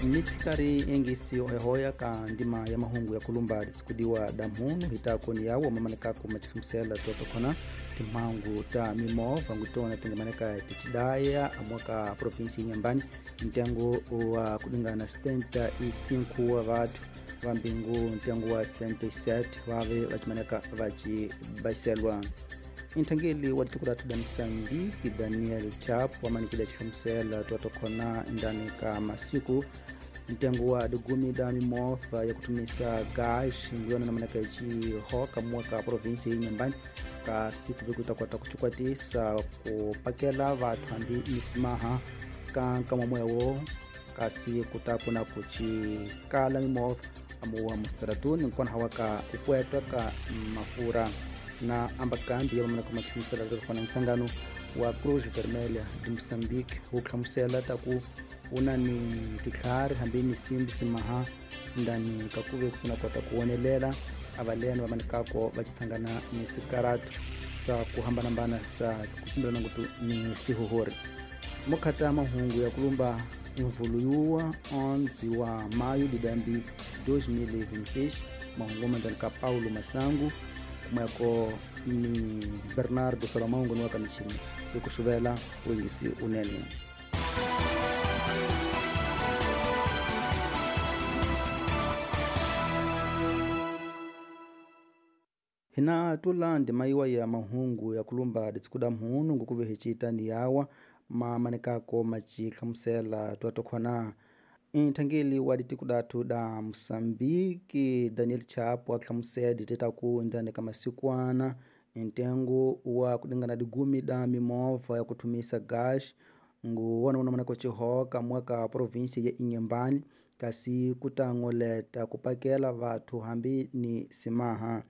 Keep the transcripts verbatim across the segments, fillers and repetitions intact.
Mitsikari engisi ohehoya ka ndima ya mahungu ya kulumba litsikudiwa damhunu hitako ni yawo mamanekako machikhamisela totokhona timhangu ta mimovha ngutona tingamaneka tichidaya amwaka provinsi Inhambane ntengo wa kulingana setenta e cinco wa vathu vambingu ntengo wa setenta e sete vave vachimaneka vachibaselwa. Inthangeli wa tiko lathu da Moçambique Daniel Chapo wamanikile chikhamisela totokhona ndani ka masiku ntengo wa digumi da mimovha ya kutumisa gás nguyona namaneka ichihoka mwaka provinsi Inhambane ka siku vikutakota kuchikwatisa kupakela vathu hambi misimaha ka nkamwamoyawo kasi kutakuna kuchikala mimovha amuwa mustratuni nkona hawa ka kukwetwa ka mafura na ambakambi ya mamaneka machikhamisela totokhona ntsangano wa Cruz Vermelha de Moçambique wuhlamusela taku una ni titlhari hambi ni simbi simaha ndani kakuve kufuna kota kuwonelela avaleni vamanekako vachitsangana ni sikaratu sa kuhambanambana sa kutsimbelana ngutu ni sihuhuri. Mokhata mahungu ya kulumba imvulu yuwa onze wa maio de dambi dois mil e vinte e seis mahungu mandani ka Paulo Masangu kumweko ni Bernardo Salomão ngoni wa michini ikuxuvela wengisi unene. Hina tula ndima yiwa ya mahungu ya kulumba ditsikuda mhunu ngukuve hichita ni yawa mamanekako machihlamusela twatokhona inthangeli wa ditikudatu da Moçambique Daniel Chapo ahlamusela ditetaku ndani ka masikwana ntengo wa kulingana digumi da mimovha ya kutumisa gas nguwona unamaneko chihoka mwaka provinsi ya Inhambane kasi kutangoleta kupakela vathu hambi ni simaha.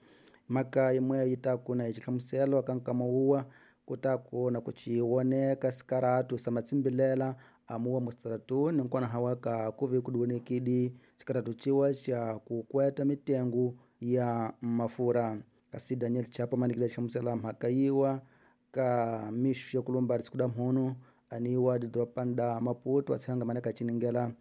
Maka imwe yitakuna ichihlamuselo ka nkamauwa kutakuna kuchiwoneka sikaratu sa matsimbilela amuwa mustratuni nkona hawaka kuve kudiwonekidi sikaratu chiwa cha kukweta mitengo ya mafura. Kasi Daniel Chapo manikile chihlamusela mhaka yiwa ka mixo ya kulumba ritsikuda mhunu aniwa didropanda Maputo atshanga maneka chiningela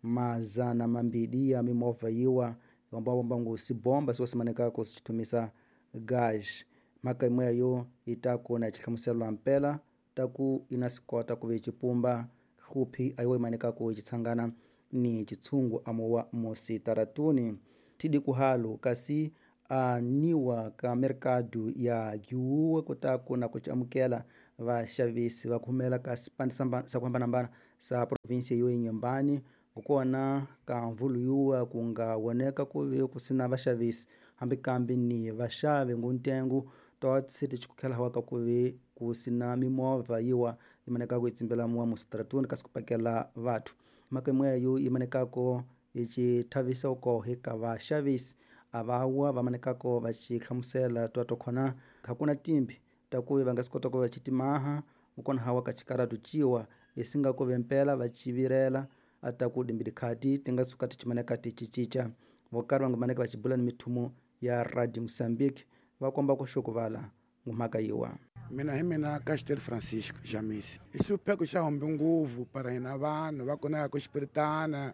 mazana mambidi ya mimovha yiwa ambao ngu sibomba siwasimanekako sichitumisa gas. Mhaka imwe yo itakuna chihlamuselo mpela taku inasikota kuve chipumba khupi ayiwe imanekako ichitsangana ni chitsungu amuwa musitaratuni. Tidi kuhalo kasi aniwa ka mercado ya giuwa kutakuna kuchamukela vaxavisi va khumela ka sipandi sa kuhambanahambana sa provinsi yo Inhambane kukona ka mvulu yuwa kunga woneka kuve kusina vaxavisi hambi kambi ni vaxavi nguntengo totse tichikukhela hawaka kuve kusina mimovha yiwa imanekako itsimbela muwa mustratuni kasi kupakela vathu. Mhaka imweyo imanekako ichithavisa ukohe ka vaxavisi avawa vamanekako vachihlamusela twatokhona hakuna timbi takuve va nga swi kota ku va chitimaha ukona hawa ka chikaratu chiwa isinga kuve mpela vachivirela ataku dimbili khati tinga suka tichimaneka tichichicha vokari va nga maneka vachibula ni mithumo ya Radio Moçambique va komba ku xukuvala ngumhaka yiwa. Mina hi mina Castel Francisco Jamis i xipheko xa hombe nguvu para hina vanhu va kona ya ku xipiritana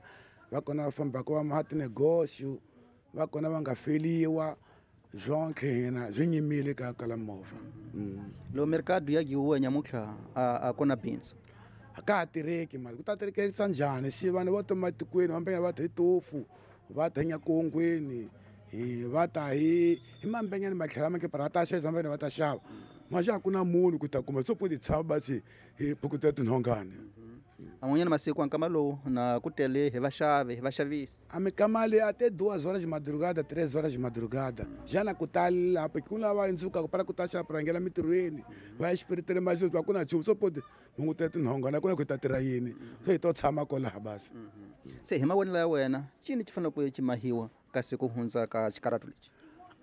va kona va fambaka va maha tinegosio va kona va nga feliwa zonke hina swi nyimile ka kala movha. Lo mercado ya giuwa nyamutlha a kona bindzu a ka ha tirheki mali ku ta tirhekisa njhani si vanhu vo tuma etikweni vambenya va ta hi tofu va ta hi nyakongweni hi va ta hi hi mambenyani matlhela make para ta xavisa mambenya va ta xava maxa a ku na munhu ku ta kuma so po ti tshama basi hi phukuta tinhongani. An'wanyana masiku ankama lowu na ku tele hi vaxavi hi vaxavisi a mikama leyi até duas horas de madrugada três horas de madrugada já na kutali lapho ku lava indzuka para ku ta xava prangela mitirhweni va ya xipiritele masiku va ku na nchumu so po hunguta tinhongana ku na ku ta tirha yini so hi to tshama kolaha basi. Se hi mavonelo ya wena cini xi fanele ku ximahiwa kasi ku hundza ka xikaratu lexi?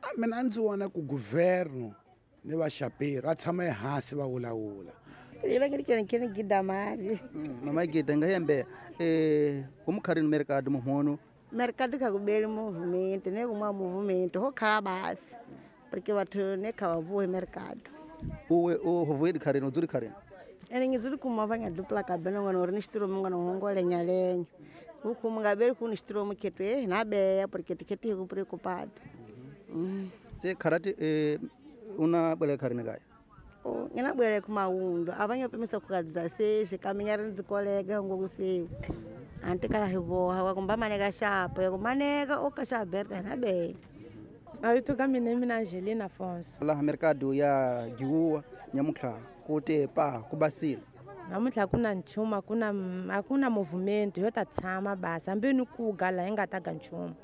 A mina a ndzi vona ku governo ni vaxaperi va tshama ehansi va vulavula. Ivangirikene gida mari. Mama gida ngayembe eh umkharini mercado muhono mercado ka kubeli movimento ne kuma movimento ho kha basi porque batho ne kha bavuhe mercado. Uwe o hovuye dikharini udzuri kharini? Ene ngizuri kumavanya dupla kabena ngwana ore nishitiro mungwana hongole nyalenya. Huku mungabeli kuni mukhetu eh na beya porque tiketi hiku preocupado. Mm. Se kharati eh, una bwele kharini kaya? Oh, ngina bwele kumaundo abanye pemisa kukadza sexe kaminya ri ndzi kolega ngokusiwa. Antikala hivoha wakumba maneka xapo yakumaneka okaxa Berta na beya. Mavito ka mina mina Angelina Afonso. Laha mercado ya Giwuwa nyamutlha ku te pa ku basile. Namuntlha ku na nchumu a ku na a ku na movement yo ta tshama basi hambi ni ku ga laha hi nga ta ga nchumu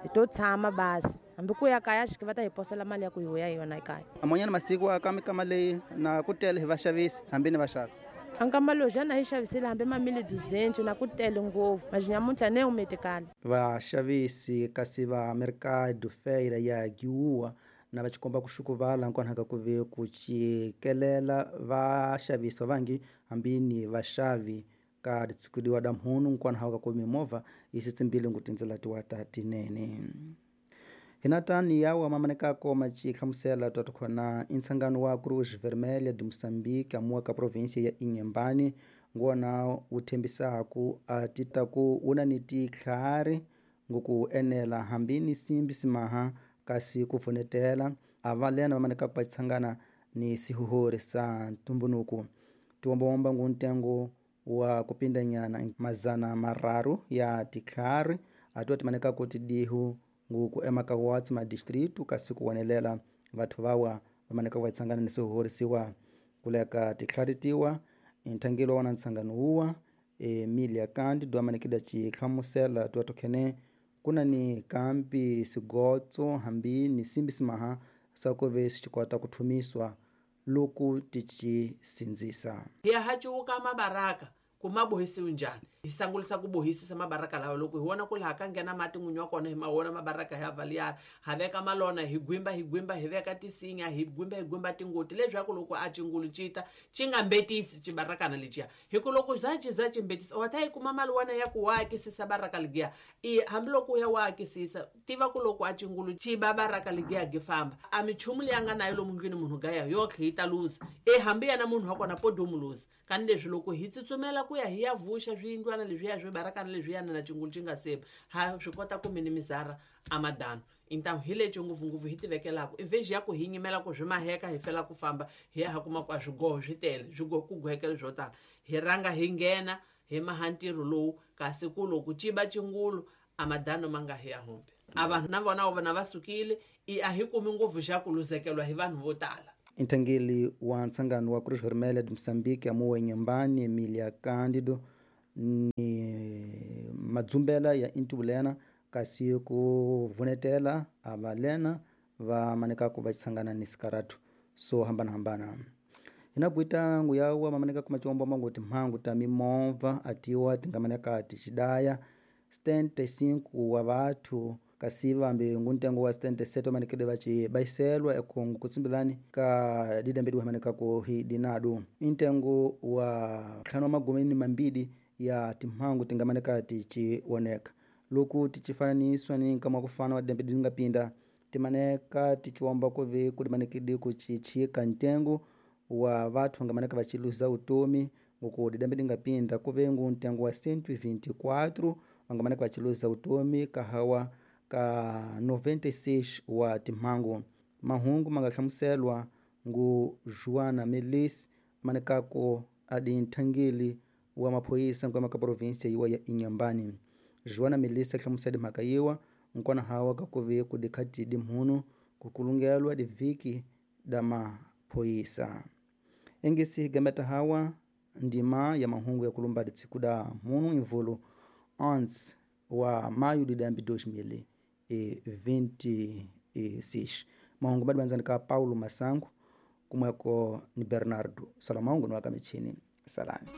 hi to tshama basi hambi ku ya kaya xi va ta hi posela mali ya ku hi vuya hi yona ekaya. Amanyana masiku aka mikama leyi na ku tele hi vaxavisi hambi ni vaxavi. Ankama lowu xana hi xavisile hambi mamili duzentu na ku tele ngopfu manje nyamuntlha ne umetikala. Vaxavisi kasi va mercado feira ya Giwuwa na va xikomba ku xukuvala nkonhaka ku ve ku cikelela vaxavisi vangi hambi ni vaxavi ka ditshikudiwa da mhunu nkonhaka ku mimovha yi sitsimbile ngu tindzela tiwa ta tinene. Hinatani yawa mamanekako machi hlamusela twa khona intsangano wa Cruz Vermelha de Moçambique amuwa ka província ya Inhambane ngona wu thembisaku a tita ku wuna ni titlhari ngoku enela hambi ni simbi simaha kasi ku pfunetela a va lena vamanekako va tshangana ni sihuhori sa ntumbunuku tiwombawomba ngu ntengo wa kupindanyana mazana mararu ya titlhari a tiwa timanekako tidihu nguku emaka watsi ma distrito kasi ku wonelela vathu vawa vamaneka va tshangana ni swihohorisiwa kuleka titlhari tiwa nthangelo wa na ntshangano wuwa Emilia Kandi do amanekida chihlamusela tiwa tokhene kuna ni kambi sigotso hambi ni simbi simaha sakuve sichikota kuthumiswa loku tichi sindzisa. Hi hachuka mabaraka kumabohisiwe njhani hi sangulisa ku bohisisa mabaraka lawa loko hi vona ku laha ka nghena mati n'winyi wa kona hi ma vona mabaraka ya valiyana ha veka malona hi gwimba hi gwimba hi veka tisinya hi gwimba hi gwimba tingoti leswaku loko a cingulu cita ci nga mbetisi cibarakana leciya hi ku loko za ci za ci mbetisa wa ta yi kuma mali wana ya ku wa akisisa baraka ligiya i hambiloko u ya wa akisisa tiva ku loko a cingulu ci ba baraka ligiya gi famba a michumu leyi a nga nayo lomu ndlwini munhu gaya yotlhe yi ta luza e hambi yena munhu wa kona podomu luza kani leswi loko hi tsutsumela ku ya hi ya vuxa swiyindlwana leswiya swi barakana leswiyana na cingulu ci nga seba ha swi kota ku minimizara amadano intamu hi lexi ngopfungopfu hi tivekelaka invexi ya ku hi nyimela ku swi maheka hi fela ku famba hi ya ha kuma ku a swigoho swi tele swigoho ku gohekele swo tala hi rhanga hi nghena hi maha ntirho lowu kasi ku loko ciba cingulu amadano ma nga hi ya humbi a vanhu na vona vona va sukile i a hi kumi ngopfu xa ku luzekelwa hi vanhu vo tala. Nthangeli wa ntsangano wa Cruz Vermelha de Moçambique amuwe Inhambane Emilia Cândido ni madzumbela ya intubulena kasi ku vunetela a valena va manekaku va tshangana ni sikaratu so hambana-hambana. Hina kuita nguyawa mamanekaku machiomba mangu timhangu ta mimovha atiwa tingamaneka tichidaya setenta e cinco wa vathu kasi vambi nguntengo wa setenta e sete vamanekede vaci baiselwa ekongo kutsimbilani ka didambedi wamanekako hi dinadu intengo wa ntlhanu wa magumi ni mambidi ya timhangu tingamaneka tichioneka loku tichifananiswa ni nkama wa kufana wa didambedi tingapinda timaneka tichiomba kuve kudimanekede kuchichika ntengo wa vathu vangamaneka vachiluza utomi ngoku didambedi ngapinda kuve ngu ntengo wa cento e vinte e quatro vangamaneka vachiluza utomi kahawa ka noventa e seis wa timhangu. Mahungu mangahlamuselwa ngu Joana Melis manekako adi nthangeli wa maphoyisa nkwama ka província yiwa ya Inhambane. Joana Melis ahlamusela mhaka yiwa nkona hawa kakuve kudikhati dimhunu kukulungelwa diviki da maphoyisa. Engesi gameta hawa ndima ya mahungu ya kulumba ditsiku da mhunu imvulu onze wa maio de dois mil e vinte e seis. Mahungu madibanzani ka Paulo Masango kumweko ni Bernardo Salomão ni wakamichini salani.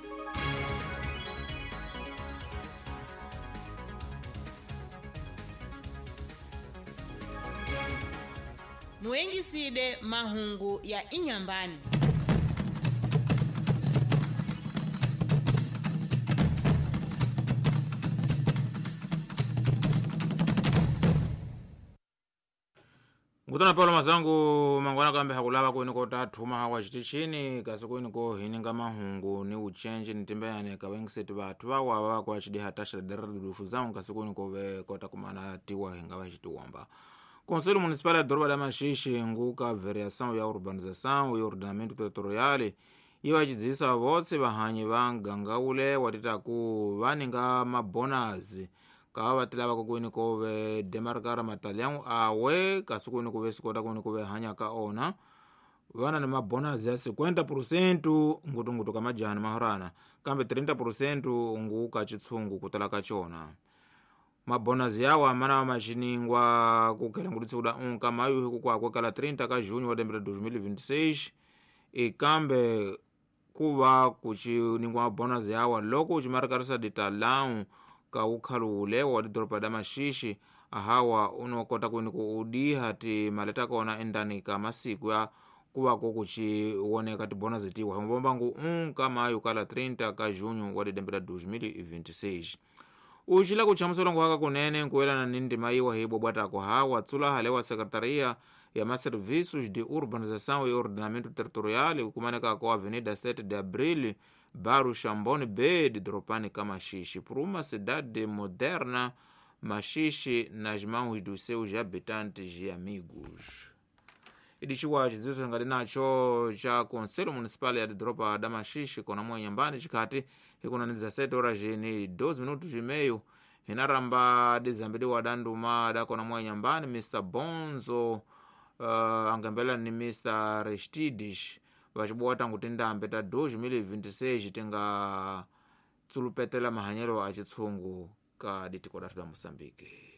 Muengiside mahungu ya Inhambane. Ngutana Paulo mazangu mangwana kambe hakulava kwini ko tathuma hawa xitichini kasi kwini ko hininga mahungu ni uchenje ni timbeyane ka vengiseti vathu vawa va kwa xidiha taxa deredilufu zangu kasi kwini ko ve kota kumana tiwa hinga va xitiwomba. Conselho Municipal ya Doroba da Maxixe nguka variação ya urbanização e ordenamento territorial yi va xidzivisa votse vahanyi va muganga wule wa titaku va ninga mabonazi ka va ti lavaka kwini ko ve demarkara matalhangu awe kasi kwini ku ve swi kota kwini ku ve hanya ka ona va na ni mabonazi ya cinquenta por cento ngutungutu ka majani mahorana kambe trinta por cento ngu ka chitshungu ku tala ka cona. Mabonazi yawa mana wa maxiningwa ku khela ngutisi kuda unka mayu hi ku kwakwe kala trinta ka junho wa lembe ra dois mil e vinte e seis e kambe ku va ku xiningwa mabonazi yawa loko u ximarkarisa ditalau ka ukhalule wa didoropa da Maxixi ahawa unokota kwini ku udiha timali ta kona endani ka masiku ya ku va ku ku xi woneka tibonazi tiwa himbombangu unka mayu kala trinta ka junho wa lembe ra dois mil e vinte e seis. Uxila ku chamusela nguhaka kunene nkuelana ni ndima yiwa hi bobwatako hawa tsula hale wa Secretaria ya Maserviços de Urbanização e Ordenamento Territorial kumaneka ko Avenida sete de Abril Bairro Chambone B de Dropani ka Maxixe por uma cidade moderna Maxixe nas mãos dos seus habitantes e amigos. Idixiwa xidziwiso ngati nacho cha Conselho Municipal ya Doropa da Maxixe kona mwanyambani xikhati hikuna ni dezessete horas ni doze minutos e meio hinaramba dizambeliwa danduma da kona mwanyambani Mister Bonzo uh, angambela ni Mister Restides vaxibuwa tangu tindambe ta dois mil e vinte e seis tinga tsulupetela mahanyelo a chitshungu ka ditiko dathu da Moçambique.